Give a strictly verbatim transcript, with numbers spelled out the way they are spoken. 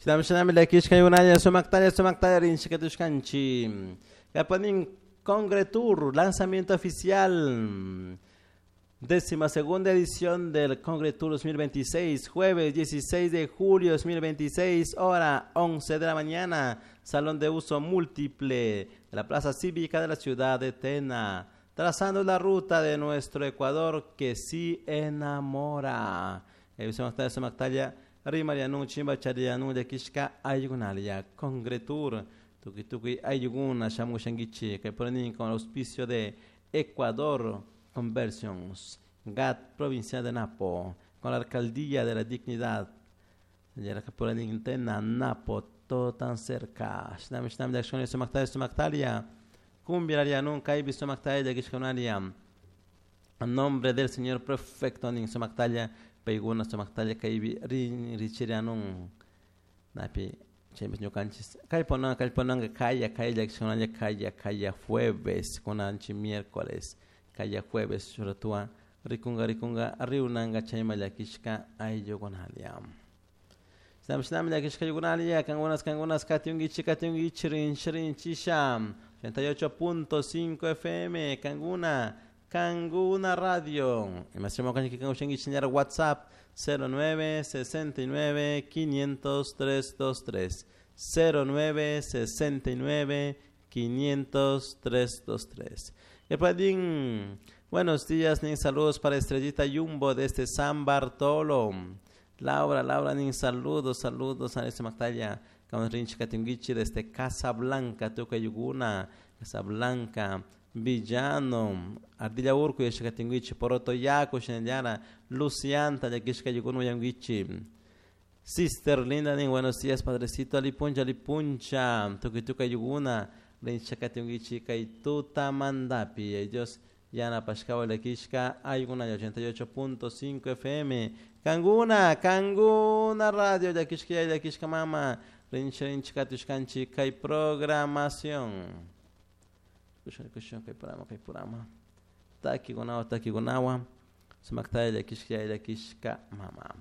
Shinami shinami llakishka yunalla sumaktalla sumaktalla rinchikatushkanchik. Kapanin Congretour, lanzamiento oficial. Décima segunda edición del Congretour dos mil veintiséis, jueves dieciséis de julio dos mil veintiséis, hora once de la mañana, Salón de Uso Múltiple de la Plaza Cívica de la ciudad de Tena, trazando la ruta de nuestro Ecuador que sí enamora. Congretour, tuki tuki ayuguna shamushangichi, que ponen con el auspicio de Ecuador Conversions, G A T Provincia de Napo, con la Alcaldía de la Dignidad, Tena, Napo, todo tan cerca. Shnam, shnam, de acciones, sumaktalia, sumaktalia, cumbia, nunca hay visto sumaktalia, de accionaria. A nombre del señor prefecto, nin sumaktalia, peiguna sumaktalia, kaibi, rin, richirianun, napi, chembes ñukanchis, kallponanga, kallponanga, kaya, kaya, accionaria, kaya, kaya, jueves, conanchi, miércoles. Kaya jueves, shuratua, rikunga, rikunga, riunanga, chayma, llakishka, ayllukunalia. Shnam, shnam, llakishka, ayllukunalia, kangunas, kangunas, katiungichi, katiungichi, rinchi, rinchisha, ochenta y ocho punto cinco F M, Kanguna, Kanguna Radio. Y más chamo, kanchi, kangu, shengi, señor, WhatsApp, cero nueve, sesenta y nueve, quinientos, tres, dos, tres. cero nueve, sesenta y nueve, quinientos, tres, dos, tres. Epadín, buenos días, nin saludos para Estrellita Jumbo desde San Bartolo. Laura, Laura, nin saludos, saludos a esta Mactalla, Rinchi Katinguichi desde Casablanca, Tucayuguna, Casablanca, Villano, Ardilla Urco, Yeshakatinguichi, Poroto Yaco, Shenellara, Lucianta, Yakishka Yugunu Yanguichi. Sister Linda, nin buenos días, Padrecito, Alipuncha, Alipuncha, Tucayuguna, Rinchakatinguichi, Kaituta Mandapi, ellos Yana Pashkawa Lekishka, Ayguna ochenta y ocho punto cinco F M, Kanguna, Kanguna Radio, Yakishka, Yakishka Mama, Rinch Rinchkatushkanchi, Kai Programación. Kushon, kushon, kai programa, kai programa. Taki gunawa, taki gunawa, Sumaktaya Yakishka, Yakishka Mama.